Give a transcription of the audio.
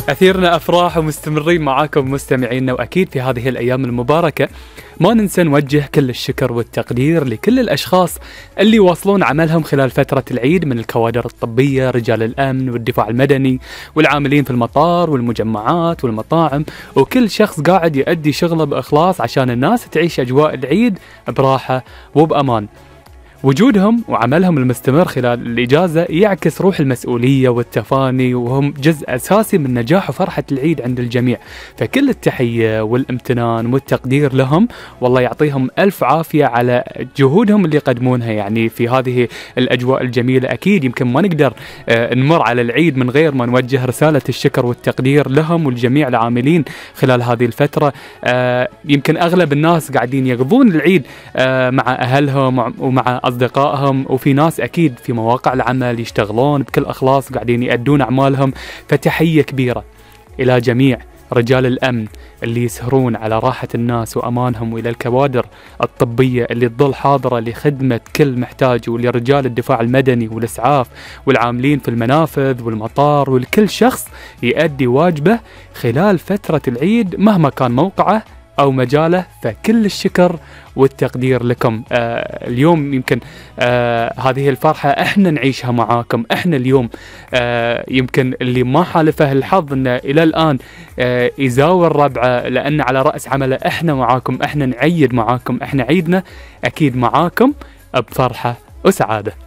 أثيرنا أفراح ومستمرين معاكم مستمعينا، وأكيد في هذه الأيام المباركة ما ننسى نوجه كل الشكر والتقدير لكل الأشخاص اللي واصلون عملهم خلال فترة العيد من الكوادر الطبية، رجال الأمن والدفاع المدني والعاملين في المطار والمجمعات والمطاعم، وكل شخص قاعد يؤدي شغله بإخلاص عشان الناس تعيش أجواء العيد براحة وبأمان. وجودهم وعملهم المستمر خلال الإجازة يعكس روح المسؤولية والتفاني، وهم جزء أساسي من نجاح وفرحة العيد عند الجميع. فكل التحية والامتنان والتقدير لهم، والله يعطيهم ألف عافية على جهودهم اللي يقدمونها يعني في هذه الأجواء الجميلة. أكيد يمكن ما نقدر نمر على العيد من غير ما نوجه رسالة الشكر والتقدير لهم والجميع العاملين خلال هذه الفترة. يمكن أغلب الناس قاعدين يقضون العيد مع أهلهم ومع أصدقائهم، وفي ناس أكيد في مواقع العمل يشتغلون بكل إخلاص قاعدين يأدون أعمالهم. فتحية كبيرة إلى جميع رجال الأمن اللي يسهرون على راحة الناس وأمانهم، وإلى الكوادر الطبية اللي تظل حاضرة لخدمة كل محتاج، ولرجال الدفاع المدني والإسعاف والعاملين في المنافذ والمطار، والكل شخص يؤدي واجبه خلال فترة العيد مهما كان موقعه أو مجاله. فكل الشكر والتقدير لكم. اليوم يمكن هذه الفرحة احنا نعيشها معاكم. احنا اليوم يمكن اللي ما حالفه الحظ انه الى الان يزاور ربعه لان على رأس عمله، احنا معاكم، احنا نعيد معاكم، احنا عيدنا اكيد معاكم بفرحة وسعادة.